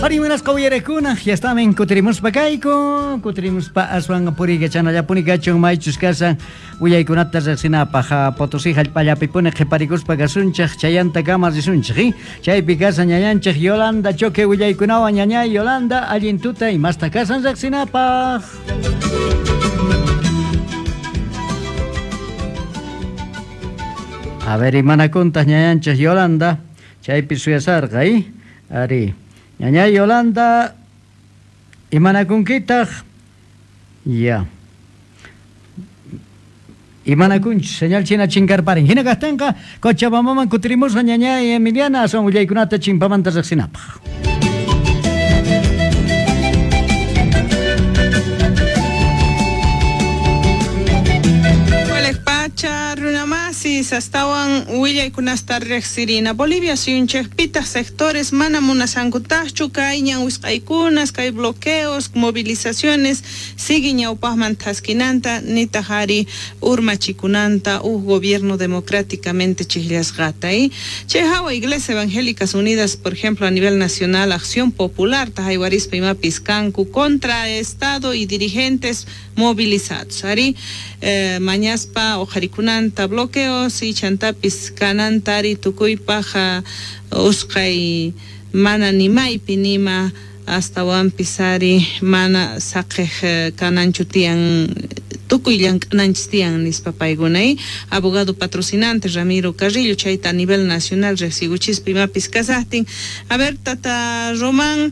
Ari munasqa uyarekuna, yastamin kutirimuspa kayku, kutirimuspa aswan puriykachanallapuni kachun maychus kashan willaykunata riqsinapaq Potosí hallp'allapipuni qhiparikuspa kasunchik chayantakama risunchik, chaypi kashan ñañanchik Yolanda Choque willaykunawan ñañay Yolanda allin tuta imasta kashan riqsinapaq. A ver, imanakuntaq ñañanchik Yolanda, chaypi suyasarqa, Ari, ñañay Yolanda, imanakunkitaq? Ya. Imanakunchis, señal china chinkarparin. Hina kaqtinqa, Cochabambaman kutirimusqa ñañay Emiliana, aswan willaykunata chimpamanta riqsinapaq. Pacha runamasis astawan willaykunasta riqsirina Bolivia suyunchikpitaq sectores mana munasankutaqchu kay ñan wisq'aykunas kay bloqueos movilizaciones sigue ñawpaqman thaskinanta nitaq ari urmachikunanta uj gobierno democráticamente chiqllasqata chay hawa Iglesia Evangélicas Unidas por ejemplo a nivel nacional Acción Popular haywarispa imapis kanku contra Estado y dirigentes movilizados ari mañaspa uqharikunanta bloqueos y chantapis kananta ari tukuypaq usqhay mana nimaypi nima astawanpis ari mana saqej kananchu tiyan tukuy llank'ananchis tiyan nispa paykuna abogado patrocinante Ramiro Carrillo chayta a nivel nacional riqsikuchispa imapis kasaqtin. A ver tata Román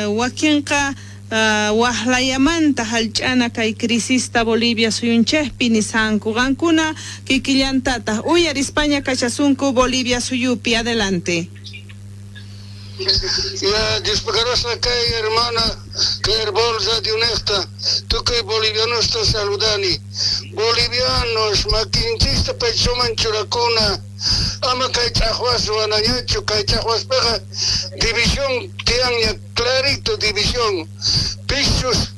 wakinqa waqlayamanta hallch'ana kay crisista Bolivia suyunchikpi nisanku qankuna kikillantataq uyarispaña kachasunku Bolivia suyupi. Adelante. Ya, Dios pagarosla kay hermana Claire Radio Nesta, tukuy bolivianosta saludani. Bolivianos, makinchista pechoman churakuna, ama kay ch'aqwas ruwanañachu, kay ch'aqwaspiqa división tiyanña, clarito división. Pichus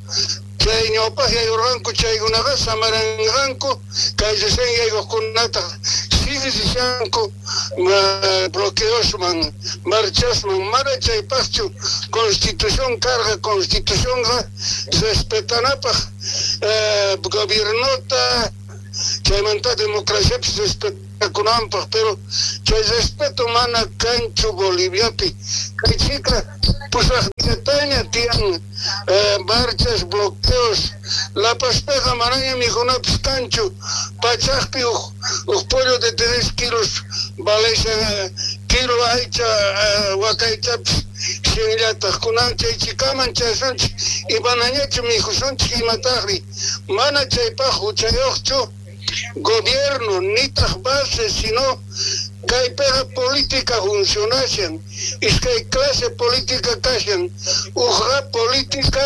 chay ñawpaq yayurqanku chaykunaqa samaranqanku, kay recién yaykuqkunataq sigue rishanku bloqueosman, marchasman, mana chaypaqchu constitución carga, constitucionqa respetanapaq gobiernota, chaymanta democraciapis respetakunanpaq, pero chay respeto mana kanchu Boliviapi. Kay chika pusaqllataña tiyan marchas, bloqueos, La Pazpiqa manaña mikhunapis kanchu, pachaqpi uj pollo de 3 kilos valeshan kilo aycha wakaychapis shinllataq kunan chay chikaman chasunchik imanañachu mikhusunchik imataqri mana chaypaq huchayuqchu gobierno nitaq base sino kaypiqa política funcionashan iskay clase política kashan uqqa política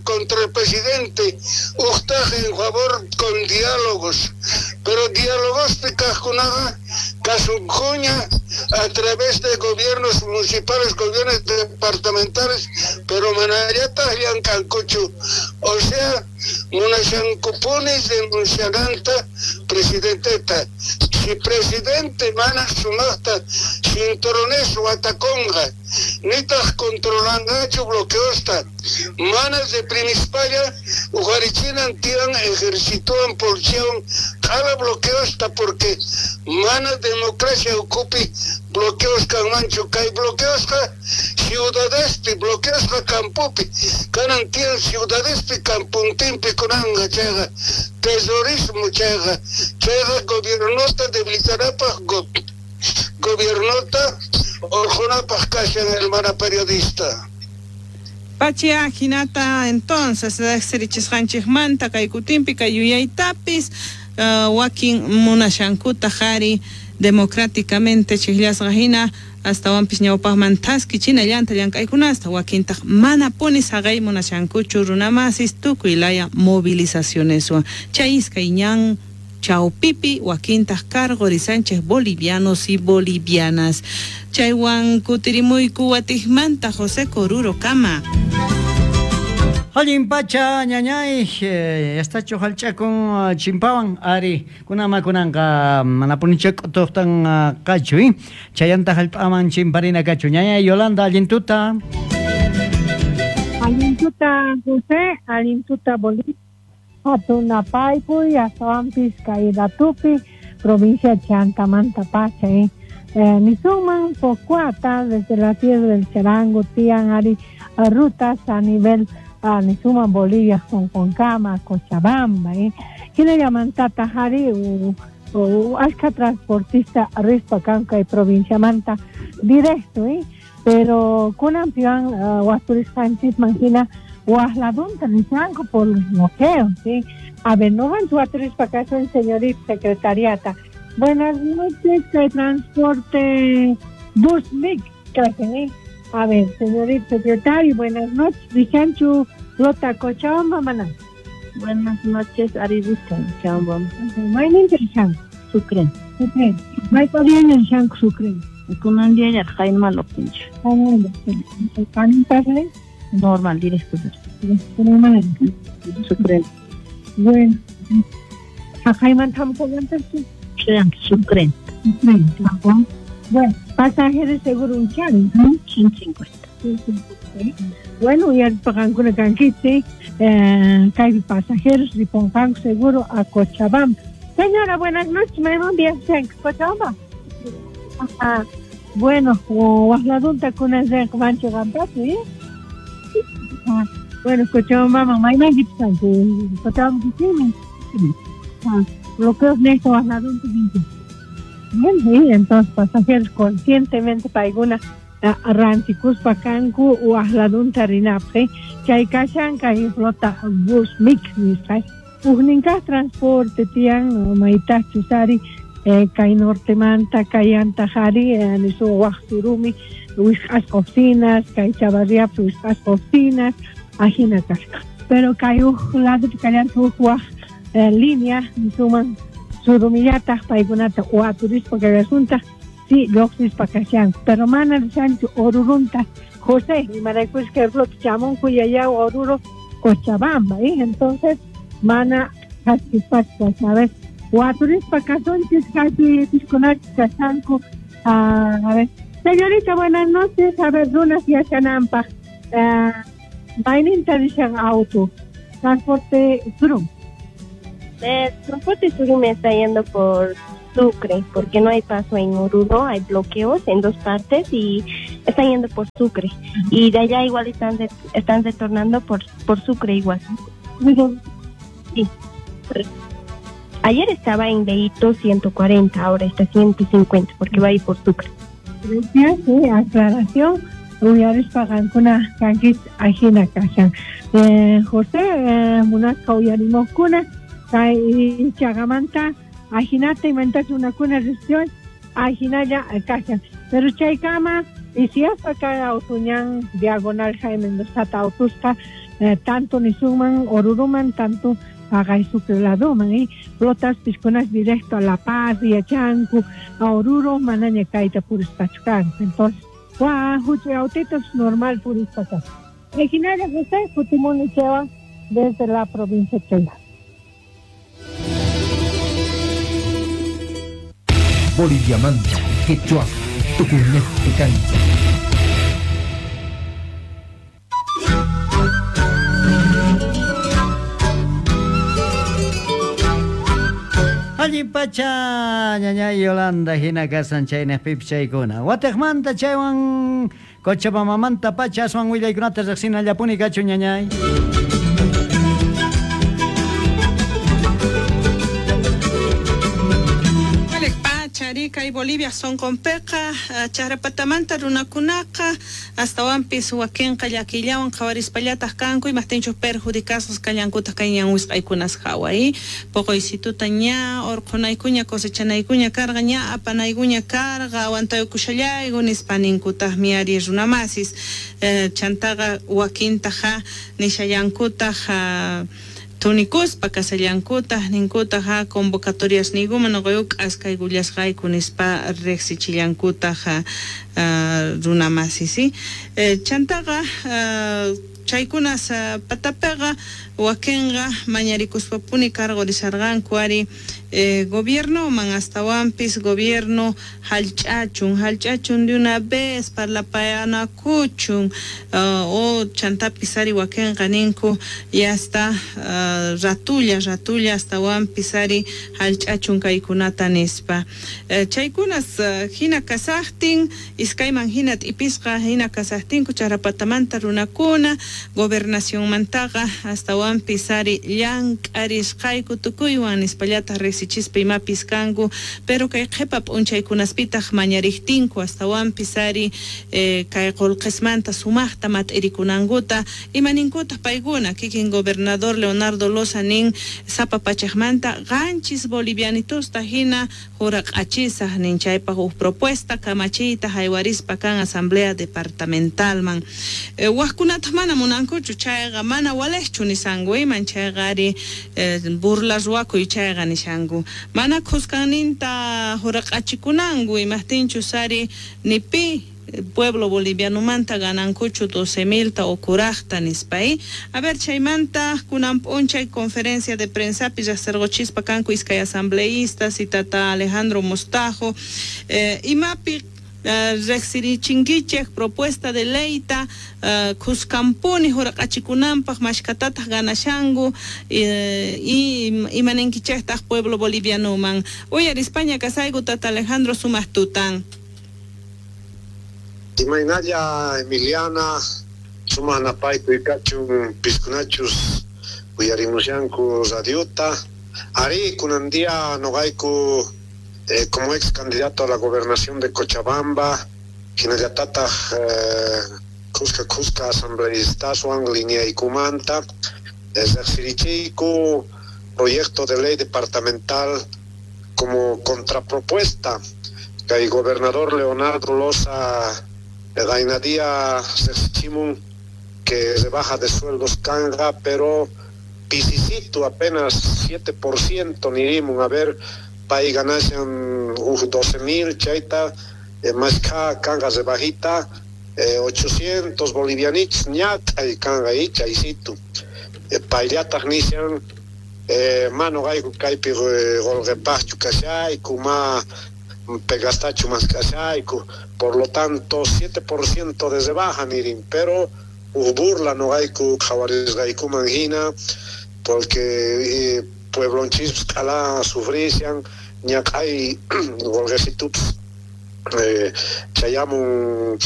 contra el presidente uqtaq en favor con diálogos pero diálogospi kaqkunaqa kasunkuña a través de gobiernos municipales, gobiernos departamentales, pero manallataq llank'ankuchu, o sea munashankupunis denunciananta presidenteta. Si presidente mana sumaqta cinturones watakunqa nitaq controlanqachu bloqueosta mana reprimispalla uqharichinan tiyan ejercitowan policiawan q'ala bloqueosta porque mana democracia ukhupi bloqueos kanmanchu kay bloqueosqa ciudadespi bloqueosqa campopi kanan tiyan ciudadespi campuntinpi kunanqa chayqa terrorismo chayqa chayqa gobiernota debilitanapaq gobiernota orqunapaq kashan hermana periodista. Pachia hinata entonces riqsirichisqanchikmanta kay kutinpi kay yuyaytapis wakin munashankuta qhari democráticamente chiqllasqa hina astawanpis ñawpaqman thaskichina llanta llank'aykunasta wakintaq manapuni saqay munashankuchu runamasis tukuy laya movilizacioneswan chay iskay ñan chawpipi wakintaq cargorisanchik bolivianos y bolivianas chaywan kutirimuyku watiqmanta José Coruro kama. Allin pacha ñañay, yastachu hallch'akun chimpawan ari kunama kunanqa manapunicha k'utuqtan qachu, chayanta hallp'aman chimparina kachu. Ñañay Yolanda, allin tuta. Allin tuta José, allin tuta Bolivia, hatun paypuy, astawanpis kay ratupi, provincia Chantamanta pacha, Nisunman Pocuata, desde la tierra del Charango, tian ari rutas a nivel Nisuman Bolivia, Concama, Cochabamba, Llaman Tatajari, ashka transportista rispa kanka y provincia Manta directo, pero kunan pian waturisqanchisman hina waqladunta nishanku por los bloqueos, ¿sí? A ver, no van waturispa kasun señorita secretariata. Buenas noches, el transporte bus mix, A ver, señorita secretario, buenas noches. Rishanchu Rota Cochabamba, maná. Buenas noches, Aribista, Cochabamba. Mayninta rishanku? Sucre. Sucre. Maypariaña rishanku Sucre. Kunan día Jaime Lopincho. Jaime Normal, directo. Normal. Sucre. Bueno. Jaime tampoco antes. Sucre. Sucre. Bueno, pasajeros seguro un chan, ¿no? 150. Bueno, y al pagancuna canquitzi, hay pasajeros y pongan seguro a Cochabamba. Señora, buenas noches, me buen día, Cochabamba. Ajá. Bueno, waqladunta kunan mancho gampachu, ¿eh? Bueno, Cochabamba, mamá, y Cochabamba, sí. Bloqueos nesto waqladunta Bien, sí, entonces pasajeros conscientemente paykuna rantikuspa kanku waqladunta rinapaq, chay kashan kay flota bus mix nisqa. Ujninkaq transporte tiyan maytachus ari kay nortemanta kay antajari nisu waq surumi wisq'asqa oficinas kay Chavarriapi wisq'asqa oficinas ajina kasqa. Pero kay uj ladopi kallantaq uj waq línea nisuman surumillataq paykunata waturispa kallasunta sí lluqsispa kashanku, pero mana rishanchu Orurunta José, imaraykush kay flota chamunku yayaw Oruro Cochabamba, entonces mana haskispacha, a ver, waturispa kasunchis kaypi piskunachis kashanku. A ver, señorita, buenas noches, a ver, runas yachanampaq, mayninta rishan auto, transporte Surum. El transporte Surum está yendo por Sucre, porque no hay paso en Oruro, hay bloqueos en dos partes y están yendo por Sucre. Y de allá igual están retornando por Sucre igual. Sí. Ayer estaba en Leito 140, ahora está 150, porque va a ir por Sucre. Gracias, sí, aclaración. Uyarispa qankuna kanchis ajina kashan. José, munasqa uyarimojkuna, kay chagamanta ajinata imantach runakuna riqsiwan ajinalla kashan. Pero chaykama isiyaspa kay autuñan diagonal Jaime Mendoza autusqa tanto nisunman Oruruman tanto paqay Sucre ladoman, flotas piskunas directo a La Paz, yachanku, a Oruro manaña kayta purispachu kanku. Entonces, huch'uy autitos normal purispa kanku. Originaria José Kutimuni Chewa desde la provincia de Chayla. Bolivia Manta, Quechua, Tucumán, Cancha. Allin pacha, ñañay Yolanda, hina kasan chaynejpipis chaykuna. Watejmanta chaywan Cochabambamanta pacha aswan willaykunata riqsinallapuni kachu ñañay. Kay Bolivia sonqonpiqa charapatamanta runakunaqa astawanpis wakinqa llakillawan qhawarispallataq kanku imaqtinchus perjudicasqas kallankutaq kay ñan wisq'aykunas hawa, poqoysituta ña urqhunaykuña cosechanaykuña karqa ña apanaykuña karqa aguantaykushallayku nispa ninkutaqmi ari runamasis, chantaqa wakintaqa nishallankutaq tunikuspa kasallankutaq ninkutaq convocatorias niykuman nuqayku k'askaykullasqayku nispa riqsichillankutaq runamasis, chantaqa Chaykunas patapiqa wakinqa mañarikuspapuni cargorisarqanku ari gobiernoman astawanpis gobierno hallch'achun de una vez parlapayanakuchun o chantapis ari wakinqa ninku y hasta ratulla astawanpis ari hallch'achun kaykunata nispa. Chaykunas hina kasaqtin iskayman hina t'ipisqa hina kasaqtinku Charapatamanta runakuna gobernacionmantaqa astawanpis ari llank'arisqayku tukuywan nispallataq riqsichispa imapis kanku, pero kay qhipa p'unchaykunaspitaq mañariqtinku astawanpis ari kay qullqismanta sumaqta mat'irikunankuta imaninkutaq paykuna kikin gobernador Leonardo Loza nin sapa pachaqmanta 7 bolivianitusta hina juraq'achisaq nin chaypaq huk propuesta kamachiyta haywarispa kan asamblea departamentalman. Waqkunataq mana munankuchu chayqa mana waliqchu nisanku iman chayqa ari burla ruwakuy chayqa nishanku mana khuskanninta juraq'achikunanku imaqtinchus ari ni pi pueblo bolivianomanta ganankuchu 12,000 o kuraqta nispa. A ver, chaymanta kunan p'unchay conferencia de prensapi riqsirquchispa kanku iskay asambleístas y tata Alejandro Mostajo imapi riqsirichinkichej propuesta de leyta khuskanpuni juraq'achikunanpaq mashkatataq ganashanku y imaninkichejtaq pueblo bolivianoman. Uyarispaña kasayku tata Alejandro sumaq tutan. Imaynalla Emiliana, sumaq napaykuy kachun piskunachus uyarimushanku radiota. Ari kunan día noqayku como ex candidato a la gobernación de Cochabamba, hinallatataq kuska asambleístaswan lineaykumanta riqsirichiyku proyecto de ley departamental como contrapropuesta kay gobernador Leonardo Loza gaynadía riqsichimun que rebaja de sueldos kanga, pero pisisito apenas 7% nirimun, a ver pay ganashan 12,000 chayta más kanga rebajita 800 bolivianitos ñat'ay kanga chaysito payllataq nishan mano gayku kaypi qolqepaqchu kashayku ma pegastachu más kashayku, por lo tanto 7% de rebaja nirin, pero burla no gayku qhawarisqaykuman hina porque pueblonchispas q'ala sufrishan ñaq'ay qolqesitupas chayamun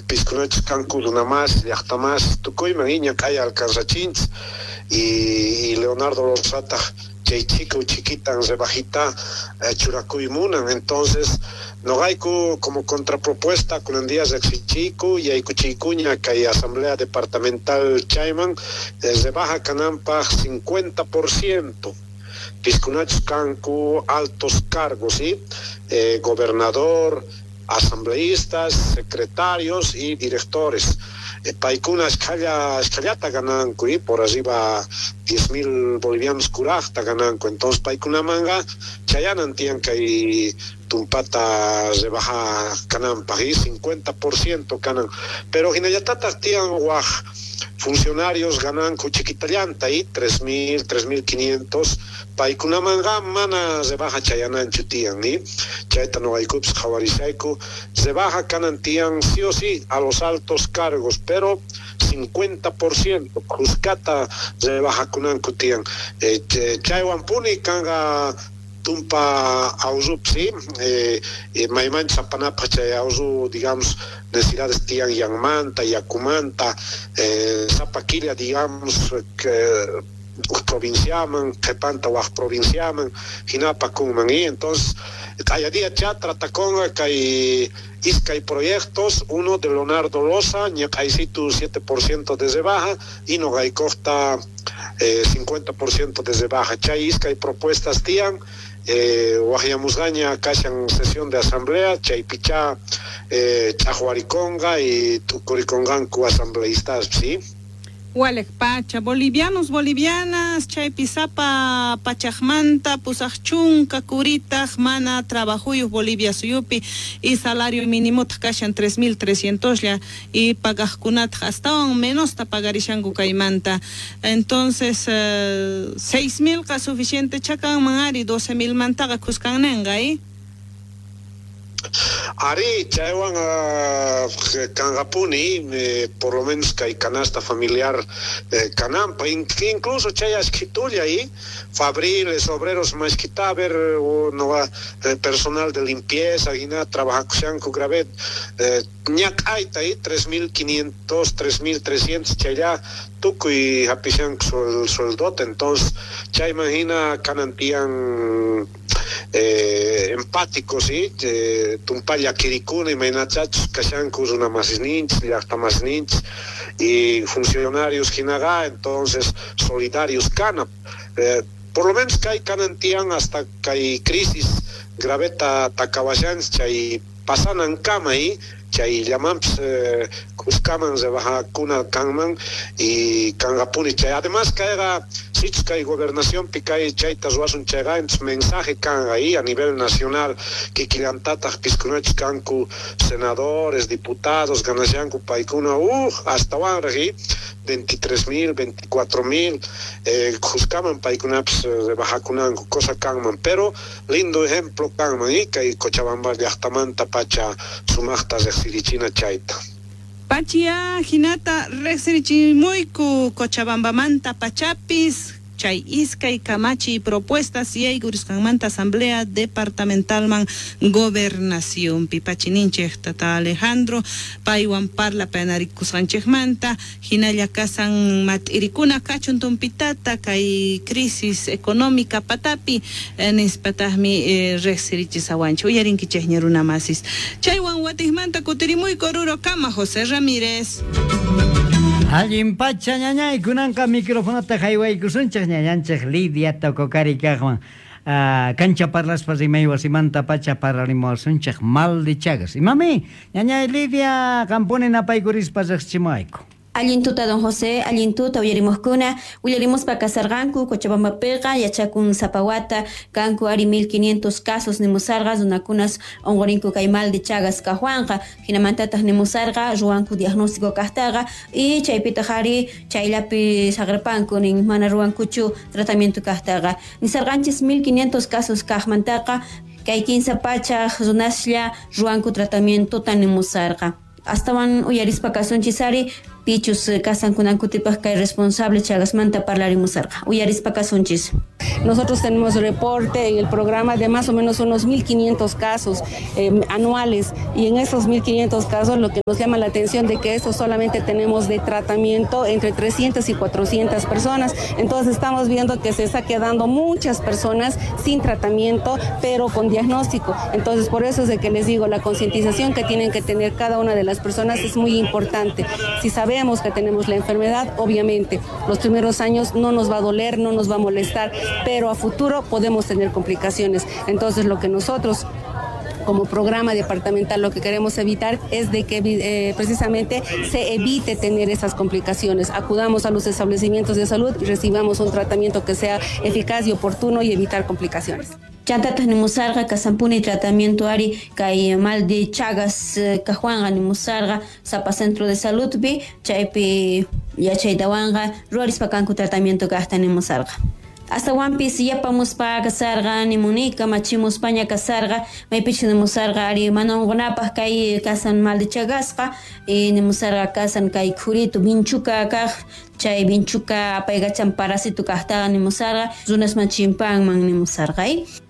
piskunachus kanku runamas llaqtamas tukuyman ñaq'ay alcanzachinchis y Leonardo Lozataq chay chico chiquitan rebajita churakuy munan. Entonces noqayku como contrapropuesta kunan día riqsichiyku yaykuchiykuña kay asamblea departamental chayman rebaja kananpaq 50% piskunachus kanku altos cargos, ¿sí? Gobernador, asambleístas, secretarios y directores. Paykuna escallata gananku y por arriba 10,000 bolivianos kuraqta gananku. Entonces paykunamanga chayanan tiyan kay tumpata rebaja kananpaq y 50% kanan. Pero hinallatataq tiyan waj funcionarios gananku chiquitallanta y 3,000, 3,500 paykunamanga mana rebaja chayananchu tiyan, ¿ni? Chayta noqaykupis qhawarishayku rebaja kanan tiyan sí o sí a los altos cargos, pero 50% khuskata rebaja kunanku tiyan. Chaywanpuni kanqa tumpa awrup, sí, maymanchus apanapaq chay awru, digamos, necesidades tiyan yanmanta, yakumanta, sapa killa, digamos, que provinciaman, qhipanta waj provinciaman, hinapa kunman. Y entonces, kaya día tratakonqa kay iskay proyectos, uno de Leonardo Loza, ñaq'aysitu 7% de rebaja, y noqaykuqta 50% de rebaja. Chay iskay propuestas tiyan, waqyamusqaña kashan sesión de asamblea, chaypichá ch'aqwarikonqa y tukurikonqanku asambleístas, ¿sí? Walej pacha, bolivianos, bolivianas, chaypi sapa pachajmanta, pusaj chunka kuritaj, mana trabajuyuj Bolivia suyupi, y salario mínimo kashan 3.300 lla, y pagajkunataj astawan menosta pagarishanku kaymanta. Entonces, 6.000 ka suficiente chakanman ari, 12.000 mantaqa kuskanninqa, ¿eh? Ari, chaywan kanqapuni, por lo menos kay canasta familiar kanampa, incluso chay ashkitulla y fabriles, obreros mashkita, ver no personal de limpieza, hina trabajakushanku gravet, ñak'ayta y 3.500, 3.300 chaylla tukuy hapishanku sueldota, entonces chayman hina kanantian empáticos, ¿sí? Tumpalla kirikuna imaynachachus kashanku runa masisninchis, llaqta masisninchis y funcionarios hinaqa, entonces solidarios kana. Por lo menos kay kanantian hasta kay crisis graveta takawashanchis chay pasanan kama y chay llamanpis kuskaman rebajakuna kanman y kanqapuni chay. Además kayqa sichus kay gobernacionpi kay chayta ruwasun chayqa, entonces mensaje kanqa y a nivel nacional kikillantataq piskunachus kanku senadores, diputados, ganashanku paykuna astawanraq y 23.000, 24.000 kuskaman paykunapis rebajakunanku cosa kanman, pero lindo ejemplo kanman y kay Cochabamba llaqtamanta pacha sumaqta riqsirichina chayta. Pachia hinata riqsirichimuyku Cochabambamanta pachapis chay iskay kamachi propuestas y aykurisqanmanta asamblea departamentalman gobernacionpi. Pachininchej tata Alejandro paywan parla penarikusqanchejmanta hinalla kasan mat'irikuna kachun tumpitata kay crisis económica patapi nispatajmi riqsirichisawanchik uyarinkichejña runa masis. Chaywan watijmanta kutirimuyku Oruro kama José Ramírez. Allin pacha ñañay kunanqa microfonota haywaykusunchik ñañanchik Lidia Tococari kaqwan. Cancha parlaspa rimay wasimanta pacha parlarimuwasunchik mal de Chagas. Imami, ñañay Lidia qampuni napaykurispa riqsichimuwayku. Allin tuta don José, allin tuta uyarimuskuna, uyarimuspa kasarqanku Cochabambapiqa yachakun sapawata kanku ari 1500 casos nimusarqa runakunas unqurinku kay mal de Chagas kaqwanqa, hinamantataq nimusarqa ruwanku diagnóstico kaqtaqa y chaypitaq ari chayllapi saqirpanku nin mana ruwankuchu tratamiento kaqtaqa. Nisarqanchis 1500 casos kaqmantaqa kay 15 pachaq runaslla ruwanku tratamientota nimusarqa. Astawan uyarispa kasunchis ari pichus kasankunankutipaq kay responsable Chagasmanta parlarimusarqa. Uyarispa kasunchis. Nosotros tenemos reporte en el programa de más o menos unos 1.500 casos anuales, y en esos 1.500 casos lo que nos llama la atención de que eso solamente tenemos de tratamiento entre 300 y 400 personas. Entonces estamos viendo que se está quedando muchas personas sin tratamiento, pero con diagnóstico. Entonces por eso es de que les digo, la concientización que tienen que tener cada una de las personas es muy importante. Si sabemos que tenemos la enfermedad, obviamente los primeros años no nos va a doler, no nos va a molestar, pero a futuro podemos tener complicaciones. Entonces lo que nosotros como programa departamental lo que queremos evitar es de que precisamente se evite tener esas complicaciones. Acudamos a los establecimientos de salud y recibamos un tratamiento que sea eficaz y oportuno y evitar complicaciones. Chantataq nimusarqa kasampuni tratamiento ari kay mal de Chagas kaqwanqa nimusarqa sapa centro de saludpi chaypi yachaytawanqa ruwarispa kanku tratamiento kaqta nimusarqa. Astawanpis yapamuspa kasarqa nimunika machimuspaña kasarqa maypichu nimusarqa ari mana unqunapaq kay kasan mal de Chagasqa nimusarqa kasan kay khuritu vinchuka kaq chay vinchuka apaykachan parásito kaqtaqa nimusarqa runasman chimpanman nimusarqa.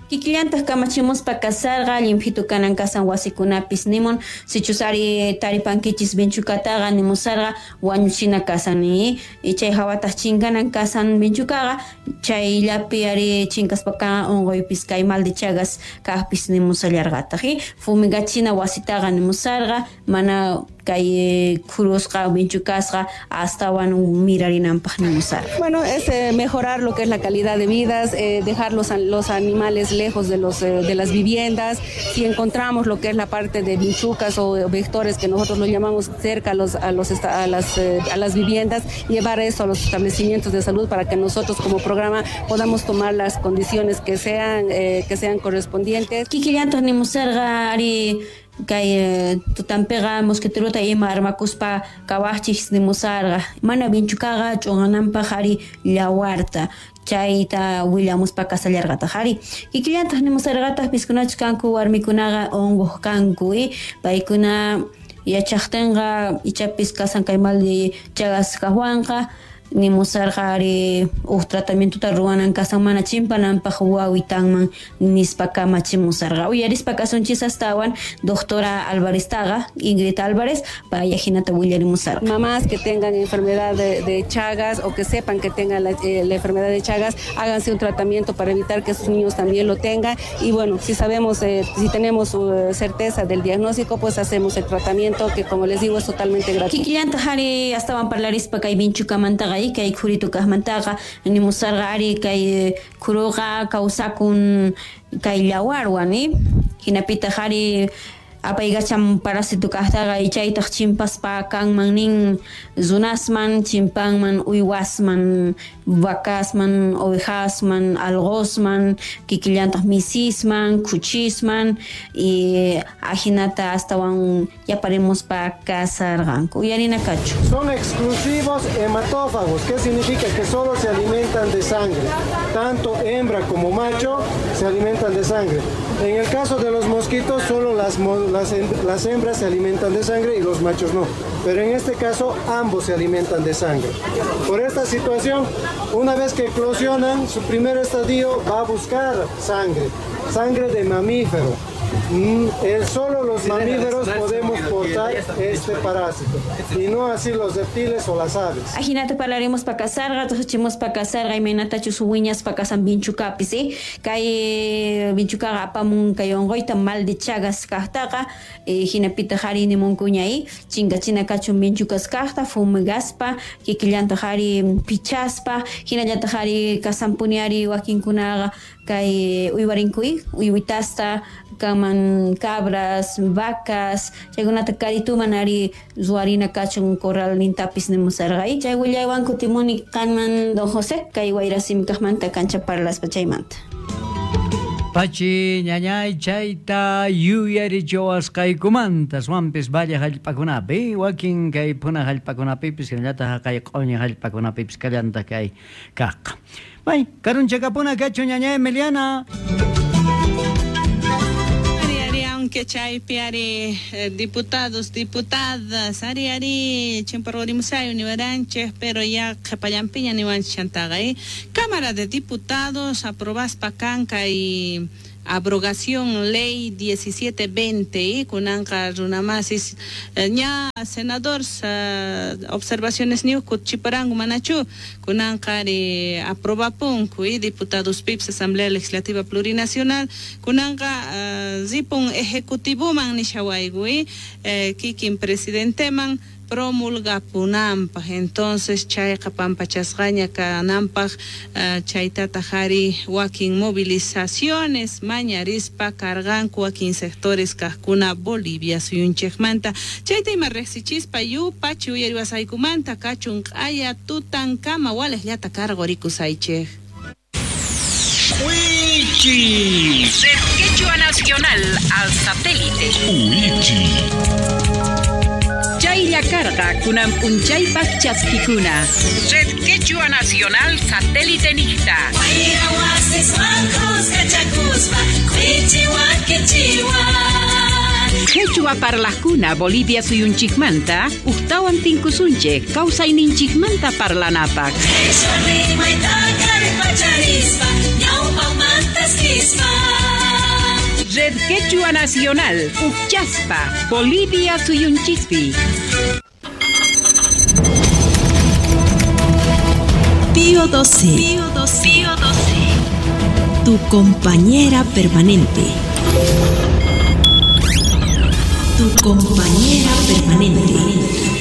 Kikillantaq kamachimuspa kasarqa llimphitu kanan kasan wasikunapis nimun sichus ari taripankichis vinchukataqa nimusarqa wañuchina kasan ni chay hawataq chinkanan kasan vinchukaqa chayllapi ari chinkaspaqa unquypis kay mal de Chagas kaqpis nimusallarqataq. Fumigachina wasitaqa nimusarqa mana kay khurusqa vinchukasqa astawan mirarinanpaq nimusarqa. Bueno, es mejorar lo que es la calidad de vidas, dejar los animales lejos de las viviendas. Si encontramos lo que es la parte de vinchucas o vectores que nosotros lo llamamos cerca a las viviendas, llevar eso a los establecimientos de salud para que nosotros como programa podamos tomar las condiciones que sean correspondientes. Kikillantaj nimusarqa ari kay tutanpiqa mosquiteruta ima armakuspa kawajchis nimusarqa mana vinchukaqa ch'unqananpaq ari llawarta chayta willamuspa kasallarqataq ari kikillantaq nimusarqataq piskunachus kanku warmikunaqa unquq kanku paykuna yachaqtinqa ichapis kasan kay mal de Chagas kajwanqa nimusarqa ari uj tratamientota ruwanan kasan mana chimpananpaq wawitanman nispa kamachimusarqa uyarispa kasunchis astawan doctora Álvareztaqa Ingrid Álvarez paya hinata willarimusarqa. Mamás que tengan enfermedad de Chagas o que sepan que tengan la enfermedad de Chagas, háganse un tratamiento para evitar que sus niños también lo tengan y bueno, si sabemos, si tenemos certeza del diagnóstico, pues hacemos el tratamiento que, como les digo, es totalmente gratuito. Kikillantaq ari astawan parlarispa kay vinchukamantaqa kay khuritu kajmantaqa nimusarqa ari kay khuruqa kawsakun kay llawarwan hinapitaq ari apaykacham parásito kajtaqa chaytaq chimpaspa kanman nin runasman chimpanman uywasman vacasman ovejasman algosman kikillantaq misisman kuchisman y ajinata astawan yaparimuspa kasarqanku uyarina kachu. Son exclusivos hematófagos, ¿qué significa? Que solo se alimentan de sangre, tanto hembra como macho se alimentan de sangre. En el caso de los mosquitos, solo las hembras se alimentan de sangre y los machos no. Pero en este caso, ambos se alimentan de sangre. Por esta situación, una vez que eclosionan, su primer estadio va a buscar sangre, sangre de mamífero. Solo los mamíferos podemos portar este parásito y no así los reptiles o las aves. Ajinata parlaremos pa kasarqa, tusachimos pa kasarqa, imaynatachus wiñas pa kasan vinchukapis, kay vinchukaqa apamun kay unquyta mal de Chagas kajtaqa, hinapitaq ari nimunkuña chinkachina kachun vinchukas kajta, fumigaspa, kikillantaq ari pichaspa, hinallataq ari kasanpuni ari wakinkunaqa kay uywarinkuy, uywitasta kaman cabras, vacas, chaykunata karituman ari ruwarina kachun corral nintapis nimusarqa. Chay willaywan kutimuni kanman don José, kay wayrasimi kajmanta kancha parlaspa chaymanta. Pachi ñañay chayta yuyarichawasqaykumanta swampis valle hallp'akunapi wakin kay puna hallp'akunapipis hinallataq kay q'uñi hallp'akunapipis kallantaq kay kaqqa. Bay, karunchakapuna kachu ñañay Emiliana. Aunque chaypi ari diputados, diputadas, ari ari chimpargorimusayo niwaranchej, pero ya qhepallampiña niwanchej chantaqa Cámara de Diputados aprobaspa kanka y abrogación ley 1720 kunanqa runamasis ña senador observaciones niuku chiparangu manachu kunanqa ari aprobapunku diputados pips Asamblea Legislativa Plurinacional kunanqa ripun ejecutivoman nishawaygu kikin presidenteman promulgapunanpaj. Entonces chayqa pampachasqaña kananpaj chaytataq ari wakin movilizaciones mañarispa karqanku wakin sectores kajkuna Bolivia suyunchejmanta chayta ima riqsichispa yupachi uyariwasaykumanta kachun q'aya tutankama walejllata karqurikusaychej. Wichi Red Quechua Nacional al satélite. Wichi Chaylla karqa kunan p'unchaypaq chaskikuna. Red Quechua Nacional satélite niqta. Quechua parlajkuna Bolivia suyunchikmanta uqtawan tinkusunchik kawsayninchikmanta parlanapaq. Red Quechua Nacional, Uchaspa, Bolivia suyunchispi. Pío XII. Pío XII. Pío XII. Tu compañera permanente. Tu Tu compañera permanente.